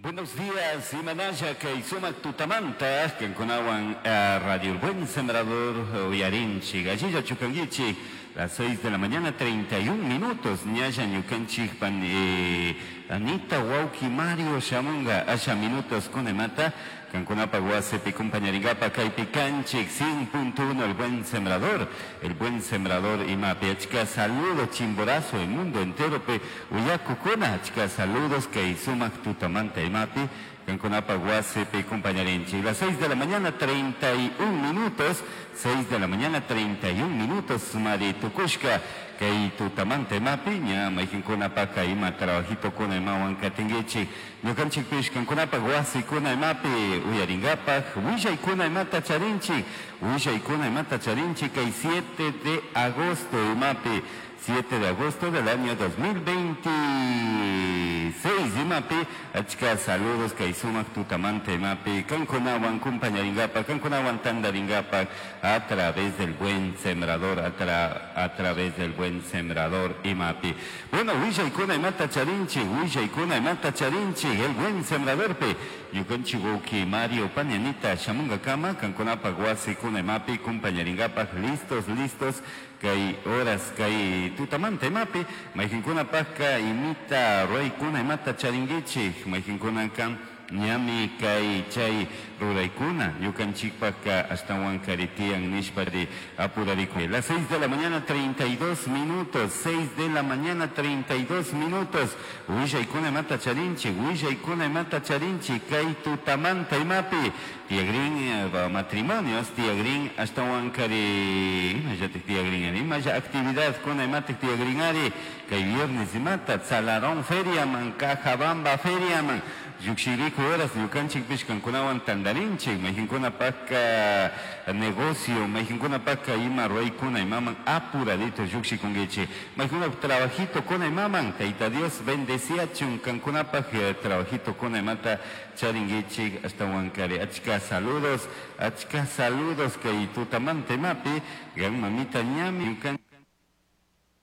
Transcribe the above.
Buenos días, imanalla kay sumak tutamanta kankunawan Radio El Buen Sembrador uyarinchik. Allilla chukankichik, las 6 de la mañana 31 minutos, ñalla ñukanchik pan Anita wawki Mario shamunga asha minutos kunemata kankunapa wasipi compañaringapa kaypi kanchik 100.1 El Buen Sembrador, El Buen Sembrador imapi achka saludos Chimborazo, el mundo entero pe uyakukuna achka saludos kay sumak tutamanta imapi kankunapa wasipi compañarinchik. Las 6 de la mañana 31 minutos, 6 de la mañana 31 minutos, mari tukushka kay tutamanta imapi ña mayqinkunapaka ima trabajito kuna imawan katinkichik ñukanchikpish kankunapaq wasikuna imapi uyarinkapak willaykuna imata charinchik willaykuna imata charinchik kay 7 de agosto imapi 7 de agosto del año 2026 imapi achka saludos kay sumak tutamanta imapi kankunawan compañarinkapak kankunawan tandarinkapak a través del Buen Sembrador, a través del Buen Sembrador imapi. Bueno, willaykuna imata charinchik, willaykuna imata charinchik, el Buen Sembradorpi ñukanchik wawki Mario Pañanita shamunkakama kankunapak wasikuna imapi compañarinkapak listos, listos kay horas kay tutamanta imapi mayqinkunapaqka imita ruraykuna imata charinkichik mayqinkunaka ñami kay chay ruraykuna ñukanchikpaqka ashtawan karitiyan nishpari apurarikuy. Las 6 de la mañana 32 minutos, 6 de la mañana 32 minutos, willaykuna imata charinchik, willaykuna imata charinchik kay tutamanta imapi tiyagrin matrimonios, tiyagrin ashtawan kari imallatik tiyagrin ari imalla actividad kuna imatik tiyagrin ari kay viernes imata Tzalarón feriaman, Cajabamba feriaman llukshiriku horas ñukanchikpish kankunawan tandarinchik mayqinkunapaqka negocio mayqinkunapaqka ima ruraykuna imaman apuradito llukshikunkichik mayqinkunapaq trabajito kuna imaman Tayta Dios bendeciachun kankunapaq trabajito kuna imata charinkichik ashtawan kari achka saludos kay tutamanta imapi gan mamita ñami ñukan.